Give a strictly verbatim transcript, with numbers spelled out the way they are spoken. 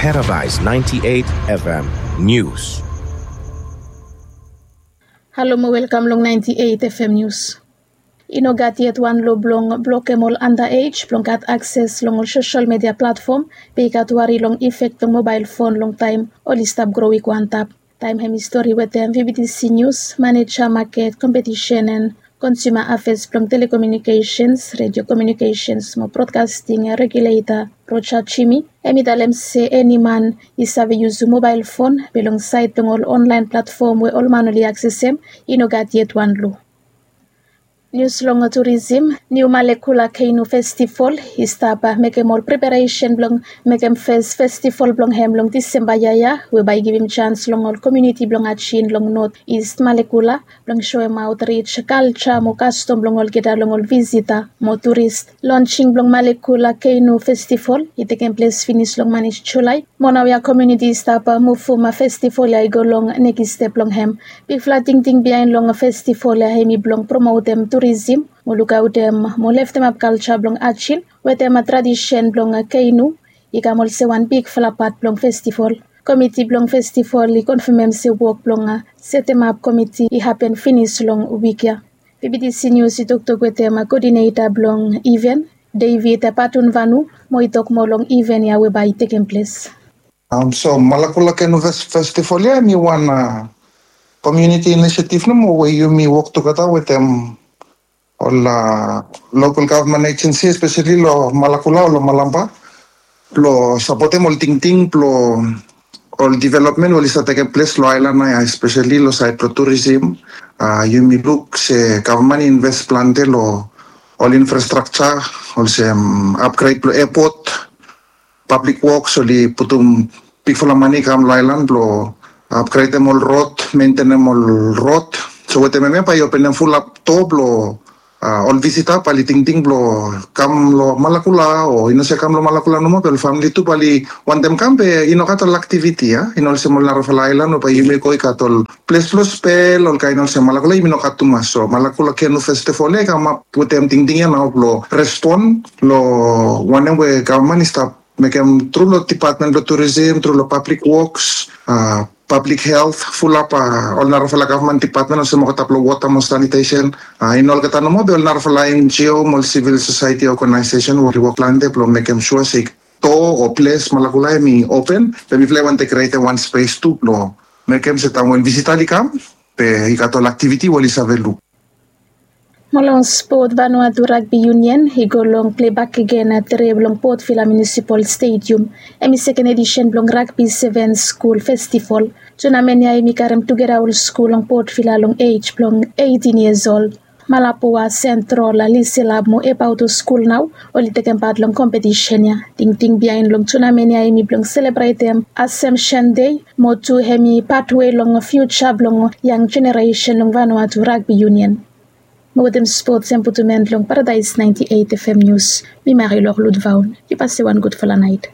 Paradise ninety-eight F M News. Halo mo welkam long ninety-eight F M News. I no gat yet wan lo blong blokem ol underage blong gat akses long ol sosol media platfom, be i gat wari long ifek blong mobael fon long taem oli stap gro i go antap. Taem hem i stori wetem V B T C News, maneja maket, kompetisen and konsuma afes blong telekomunikesens, redio komunikesens mo brodkasting reguleta Roja Jimi, hem i talem se eni man i save yusum mobael fon be long saed blong ol onlaen platfom we ol man oli aksesem, i no gat yet wan lo. Nius long turisim. Niu Malekula Keinu Festival i stap mekem ol preparesen blong mekem fes festival blong hem long Disemba yia ya, we bae i givim jans long ol komuniti blong Ajin long Not Ist Malekula blong soemaot rij kalja mo kastom blong olgeta long ol visita mo turis. Lonsing blong Malekula Keinu Festival i tekem ples finis long manis Julae. Mo naoia komuniti i stap muvum festival ya i go long nekis step blong hem. Bigfala tingting biaen long festival ya hemi blong promotem turisim mo lukaotem mo leftemap kalja blong Ajin wetem tradisen blong Keinu i kam olsem wan bigfala pat blong festival. Komiti blong festival i konfamem se wok blong setemap komiti i hapen finis long wik ya. V B T C News i toktok wetem koodineta blong iven, David Patunvanu, mo i tok moa long iven ya we bae i tekem ples. Am, so Malakula Kenu Fes- Festival ya hemi wan komuniti inisiativ nomo we yumi wok tugeta wetem ol lokal gavman ejensi, espeseli lo Malakula o lo Malampa, blo sapotem ol tingting blo ol developmen we oli stap tekem ples lo aelan ya, espeseli lo saed blo turisim. A, yumi luk se gavman i inves plante lo ol infrastrakja olsem apgred blo epot, pablik woks, oli putum bigfala mane i kam lo aelan blo apgredem ol rod, mentenem ol rod. So wetem hemia bae i openem fulap doa blo ol visita bae oli tingting blo kam lo Malakula o i no se kam lo Malakula nomo be ol famili tu bae oli wantem kam be i no gat ol aktiviti ya. I no olsem ol narafala aelan we bae yumi go i gat ol ples blo spel, olkaen olsem. Malakula yumi no gat tumas. So Malakula Kenu Festival ya i kamap wetem tingting ya nao blo respon lo wanem we gavman i stap mekem tru lo dipatmen blo turisim, tru lo pablik woks, a, pablik helt, fulap ol narafala gavman dipatmen olsem olgeta blo wota mo sanitesen. A, i no olgeta nomo be ol narafala N G O mo ol sivil sosaeti ogenaesesen we oli wok plante blo mekem sua se doa o ples Malakula hemi open. Be mifala i wantem krietem wan spes tu blo mekem se taem we ol visita oli kam be i gat ol aktiviti we oli save luk. Mo long spot, Vanuatu Rugby Union i go long plei bakegen tre blong Port Vila Munisipal Stadium. Hemi seken edisen blong Rugby Sevens Skul Festival. Tunamen ya hemi karem tugeta ol skul long Port Vila long ej blong eitin yias ol. Malapua, Sentrol, Liselap mo Ebauto skul nao oli tekem pat long kompetisen ya. Tingting biaen long tunamen ya hemi blong selebretem Assumption Day mo tu hemi patwe long fiuja blong yang jeneresen long Vanuatu Rugby Union. Mo wetem spots hem putum en long Paradise ninety-eight F M News, mi Marilou Ludvaun. Yu pase wan gudfala naet.